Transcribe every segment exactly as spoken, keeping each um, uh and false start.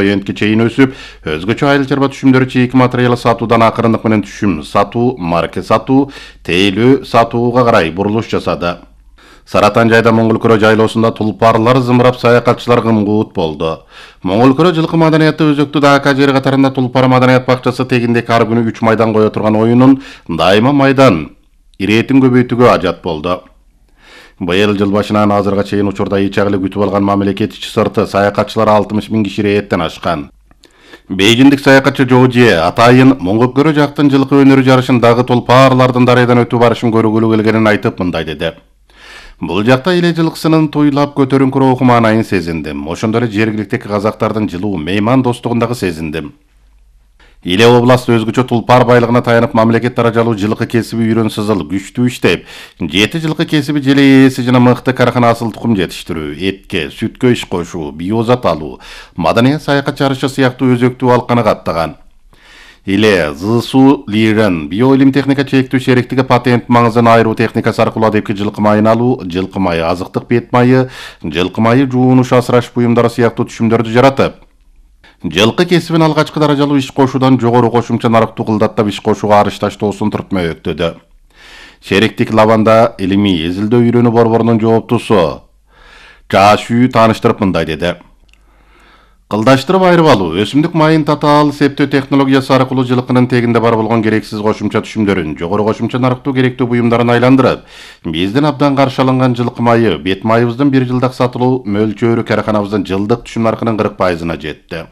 Эндке чейин өсүп, өзгөчө айыл чарба түшүмдөрү чийки материалы сатуудан акырындык менен түшүм сатуу, марке сатуу, тейлөө сатууга карай бурулуш жасады. Саратан жайда Моңгол-Көрө жайлоосунда тулпарлар зымырап саякатчылар гымгуут болду. Моңгол-Көрө жылкы маданияты өзөктүү дака жери катарында тулпар маданият бакчасы тегиндеги ар күнү үч майдан кое турган оюнун дайыма майдан иретин көбөйтүүгө ажат болду. Быйыл жыл башынан азырга чейин учурда ичагылы күтүп алган мамлекет ичи сырты саякатчылар алтымыш миң киши рээттен ашкан. Бейжиндик саякатчы Жоужие атайын Моңгол-Көрө жактын жылкы өнөрү жарышын дагы тулпарлардын дарыядан өтүү барышын көргүлү келгенин айтып мындай деди. Бул жакта эле жылкысынын туйлап көтөрүңкү руху маанайын сезиндим. Ошондой эле жергиликтеги казактардын жылуу мейман достугундагы сезиндим. Иле областы өзгөчө тулпар байлыгына таянып мамлекет даражалуу жылкы кесиби үйрөн сызыл күчтүү иштеп, жети жылкы кесиби желе ээси жана мыкты карахана асыл тукум жетиштирүү, этке, сүткө иш кошуу, биозат алуу, маданият саякат жарышы сыяктуу өзөктүү алканы каттаган. Иле ЗСУ Лирен биоилим техника чектүү шериктиги патент маңызын айыруу техникасы аркылуу адепки жылкы майын алуу, жылкы майы азыктык бет майы, жылкы майы жуунуш асыраш буюмдары сыяктуу түшүмдөрдү жаратып, жылкы кесибин алгачкы даражалуу иш кошуудан жогору кошумча нарыктуу кылдаттап иш кошууга арыш таштоосун түртмөктөдү. Шериктик Лаванда илимий эзилдөө үйрөнүү борборунун жооптусу Жашүү тааныштырып мындай деди. Кылдаштырып айырып алуу, өсүмдүк майын татаал септөө технологиясы аркылуу жылкынын тегинде бар болгон керексиз кошумча түшүмдөрүн, жогору кошумча нарыктуу керектүү буюмдарын айландырып, биздин абдан каршы алынган жылкы майы, бет майыбыздын бир жылдык сатылуу мөлчөрү караханабыздын жылдык түшүм наркынын кырк пайызына жетти.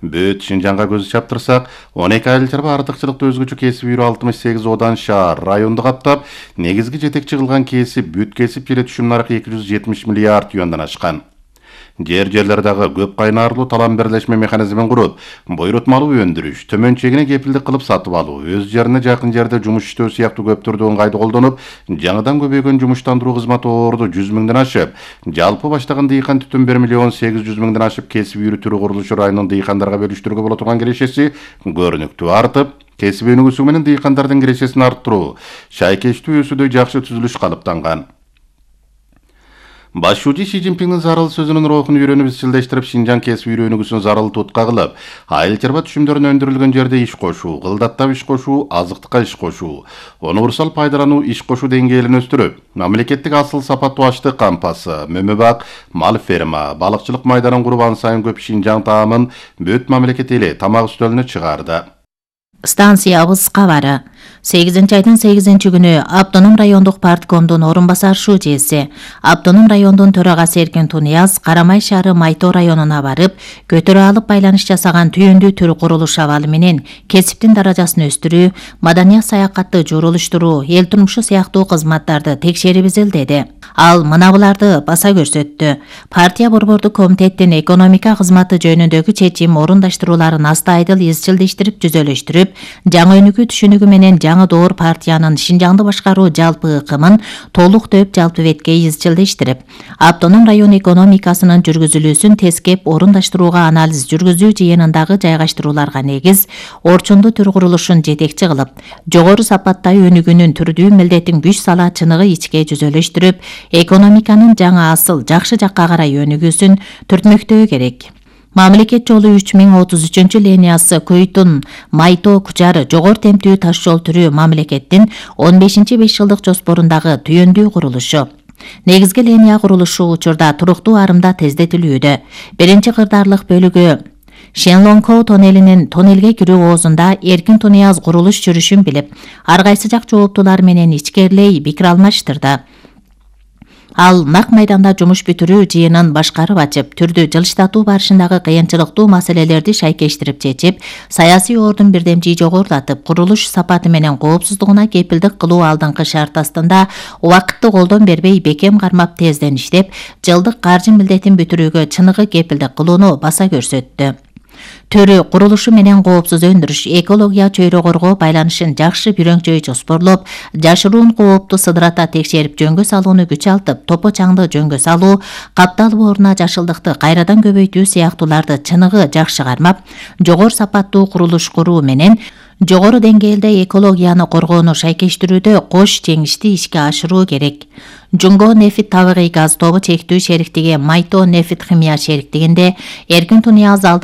Бөт Шинжанга көз чаптырсак, он эки айыл чарба артыкчылыкты өзгөчө кесип үйрө алтымыш сегиз одан шаар районду каптап, негизги жетекчи кылган кесип бүт кесип желе түшүм наркы эки жүз жетимиш миллиард юандан ашкан. Жер-жерлердагы көп кайнаарлуу талам бирлешме механизмин куруп, буйрутмалуу өндүрүш, төмөн чегине кепилдик кылып сатып алуу, өз жерине жакын жерде жумуш иштөө сыяктуу көп түрдүү ыңгайды колдонуп, жаңыдан көбөйгөн жумуштандыруу кызматы орду жүз миңден ашып, жалпы баштаган дыйкан түтүн бир миллион сегиз жүз миңден ашып кесип үйрөтүү курулушу районун дыйкандарга бөлүштүрүүгө боло турган кирешеси көрүнүктүү артып, кесип өнүгүүсү менен дыйкандардын кирешесин арттыруу, шайкечтүү өсүүдө жакшы түзүлүш калыптанган. Башчы Си Цзиньпиндин зарыл сөзүнүн рухун үйрөнүп изчилдештирип, Шинжаң кесип үйрөнүүсүн зарыл тутка кылып, айыл чарба түшүмдөрүн өндүрүлгөн жерде иш кошуу, кылдаттап иш кошуу, азыктыкка иш кошуу, универсал пайдалануу иш кошуу деңгээлин өстүрүп, мамлекеттик асыл сапаттуу аштык кампасы, мөмөбак, мал ферма, балыкчылык майданын куруп ан сайын көп Шинжаң таамын бүт мамлекет эли тамак үстөлүнө чыгарды. Станциябыз кабары. сегизинчи айдын сегизинчи күнү Автоном райондук парткомдун орун басар шужеси, Автоном райондун төрагасы Эркин Тунияз Карамай шаары Майто районуна барып, көтөрө алып байланыш жасаган түйүндүү төр курулуш абалы менен кесиптин даражасын өстүрүү, маданият саякатты журулуштуруу, эл турмушу сыяктуу кызматтарды текшерип изилдеди. Ал мына буларды баса көрсөттү. Партия борбордук комитеттин экономика кызматы жөнүндөгү чечим орундаштырууларын астайдыл изчилдештирип түзөлүштүрүп, жаңы өнүгүү түшүнүгү менен жаңы доор партиянын Шинжаңды башкаруу жалпы ыкымын толук төп жалпы бетке изчилдештирип, Автоном район экономикасынын жүргүзүлүүсүн тескеп орундаштырууга анализ жүргүзүү жыйынындагы жайгаштырууларга негиз, орчундуу төр курулушун жетекчи кылып, жогору сапаттай өнүгүүнүн түрдүү милдетин күч сала чыныгы ичке жүзөлөштүрүп, экономиканын жаңы асыл жакшы жакка карай өнүгүүсүн түртмөктөө керек. Мамлекет жолу үч миң отуз үчүнчү линиясы Көйтүн, Майто, Кучар жогор темптүү таш жол түрү мамлекеттин он бешинчи беш жылдык жоспорундагы түйүндүү курулушу. Негизги линия курулушу учурда туруктуу арымда тездетилүүдө. Биринчи кырдаарлык бөлүгү Шенлонкоу тоннелинин тоннелге кирүү оозунда Эркин Тунияз курулуш жүрүшүн билип, ар кайсы жак жооптуулар менен ичкерлей пикир алмаштырды. Ал нак майданда жумуш бүтүрүү жыйынын башкарып ачып, түрдүү жылыштатуу барышындагы кыйынчылыктуу маселелерди шайкештирип чечип, саясий ордун бирдемчи жогорулатып, курулуш сапаты менен коопсуздугуна кепилдик кылуу алдыңкы шарт астында убакытты колдон бербей бекем кармап тезден иштеп, жылдык каржы милдетин бүтүрүүгө чыныгы кепилдик кылууну баса көрсөттү. Төрү курулушу менен коопсуз өндүрүш, экология чөйрө коргоо байланышын жакшы бирөңчөй жоспорлоп, жашыруун коопту сыдырата текшерип жөнгө салууну күч алтып, топо чаңды жөнгө салуу, капталуу ордуна жашылдыкты кайрадан көбөйтүү сыяктууларды чыныгы жакшы кармап, жогору сапаттуу курулуш куруу менен жогору деңгээлде экологияны коргоону шайкештирүүдө кош жеңишти ишке ашыруу керек. Жунго нефит табигый газ тобу чектүү шериктиги Майто нефит химия шериктигинде Эркин Тунияз